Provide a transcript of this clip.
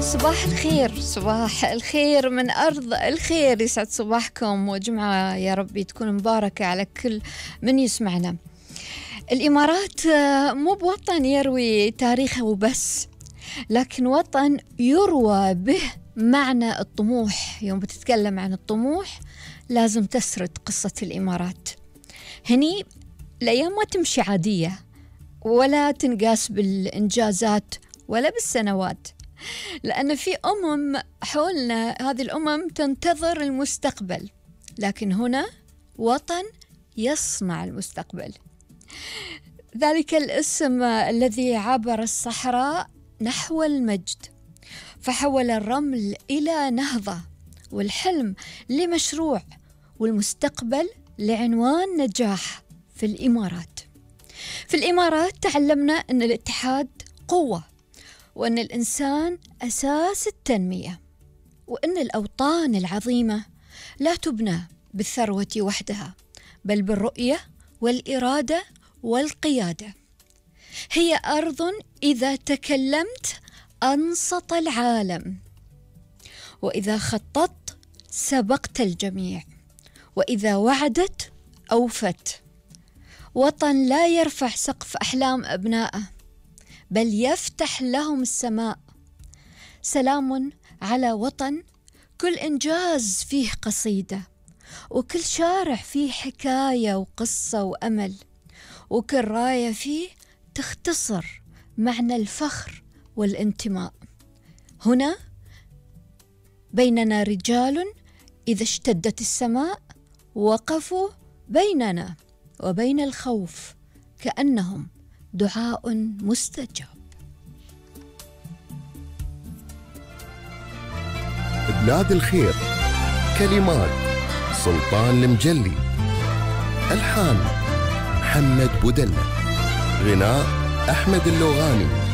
صباح الخير، صباح الخير من أرض الخير. يسعد صباحكم وجمعة يا ربي تكون مباركة على كل من يسمعنا. الإمارات مو بوطن يروي تاريخه وبس، لكن وطن يروى به معنى الطموح. يوم بتتكلم عن الطموح لازم تسرد قصة الإمارات. هني الأيام ما تمشي عادية ولا تنقاس بالإنجازات ولا بالسنوات، لأن في حولنا هذه الأمم تنتظر المستقبل، لكن هنا وطن يصنع المستقبل. ذلك الاسم الذي عبر الصحراء نحو المجد، فحول الرمل إلى نهضة، والحلم لمشروع، والمستقبل لعنوان نجاح. في الإمارات تعلمنا أن الاتحاد قوة، وأن الإنسان أساس التنمية، وأن الأوطان العظيمة لا تبنى بالثروة وحدها، بل بالرؤية والإرادة والقيادة. هي أرض إذا تكلمت أنصت العالم، وإذا خططت سبقت الجميع، وإذا وعدت أوفت. وطن لا يرفع سقف أحلام أبنائه، بل يفتح لهم السماء. سلام على وطن كل إنجاز فيه قصيدة، وكل شارع فيه حكاية وقصة وأمل، وكل راية فيه تختصر معنى الفخر والانتماء. هنا بيننا رجال إذا اشتدت السماء وقفوا بيننا وبين الخوف كأنهم دعاء مستجاب. بلاد الخير، كلمات سلطان المجلي، ألحان محمد بودلة، غناء أحمد اللوغاني.